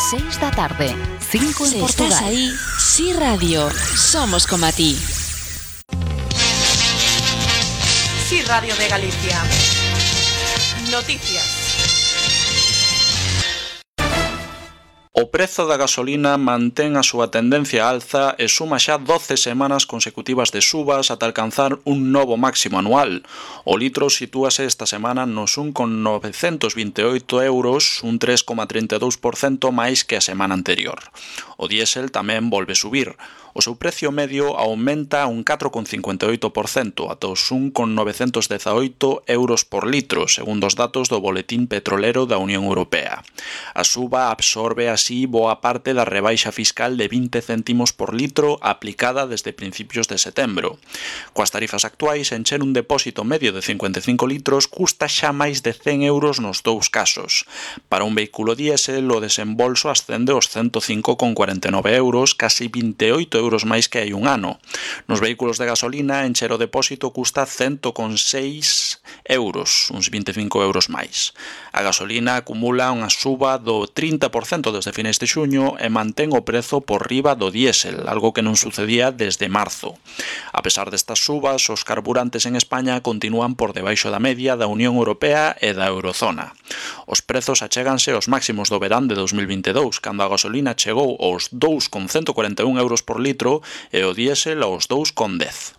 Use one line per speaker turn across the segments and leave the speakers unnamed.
6 da tarde, 5 en
Si
Portugal.
estás ahí, Sí Radio, somos como a ti.
Sí Radio de Galicia. Noticias.
O prezo da gasolina mantén a súa tendencia á alza e suma xa 12 semanas consecutivas de subas ata alcanzar un novo máximo anual. O litro sitúase esta semana nos 1,928 euros, un 3,32% máis que a semana anterior. O diésel tamén volve subir. O seu precio medio aumenta un 4,58% ata os 1,918 euros por litro, segundo os datos do Boletín Petrolero da Unión Europea. A suba absorbe así boa parte da rebaixa fiscal de 20 céntimos por litro aplicada desde principios de setembro. Coas tarifas actuais, encher un depósito medio de 55 litros custa xa máis de 100 euros nos dous casos. Para un vehículo diésel, o desembolso ascende aos 105,49 euros, casi 28 euros máis que hai un ano. Nos vehículos de gasolina, encher o depósito custa 100,6 euros, uns 25 euros máis. A gasolina acumula unha suba do 30% desde finais de xuño e mantén o prezo por riba do diésel, algo que non sucedía desde marzo. A pesar destas subas, os carburantes en España continúan por debaixo da media da Unión Europea e da Eurozona. Os prezos achéganse aos máximos do verán de 2022, cando a gasolina chegou aos 2,141 euros por litro e o diésel aos 2,10.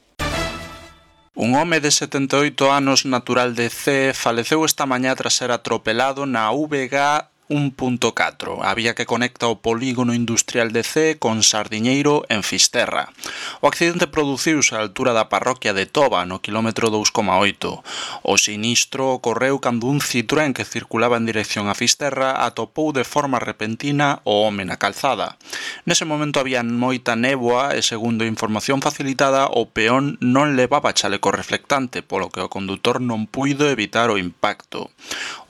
Un home de 78 anos natural de Cee faleceu esta mañá tras ser atropelado na VG 1.4, a vía que conecta o polígono industrial de Cee con Sardiñeiro en Fisterra. O accidente produciuse á altura da parroquia de Toba, no quilómetro 2,8. O sinistro ocorreu cando un Citroën que circulaba en dirección a Fisterra atopou de forma repentina o home na calzada. Nese momento había moita néboa e, segundo información facilitada, o peón non levaba chaleco reflectante, polo que o condutor non puido evitar o impacto.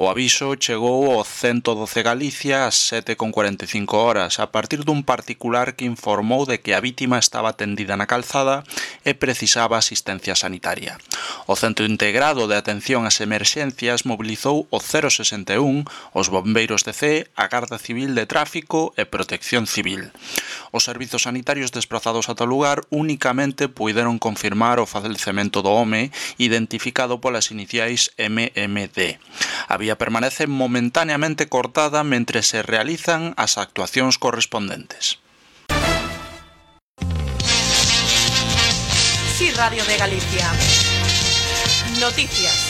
O aviso chegou ao 112 Galicia ás 7,45 horas, a partir dun particular que informou de que a vítima estaba tendida na calzada e precisaba asistencia sanitaria. O Centro Integrado de Atención ás Emerxencias mobilizou o 061, os bombeiros de Cee, a Garda Civil de Tráfico e Protección Civil. Os servizos sanitarios desprazados ata o lugar únicamente puideron confirmar o falecemento do home, identificado polas iniciais MMD. A vía permanece momentaneamente cortada mentre se realizan as actuacións correspondentes.
Sí Radio de Galicia. Noticias.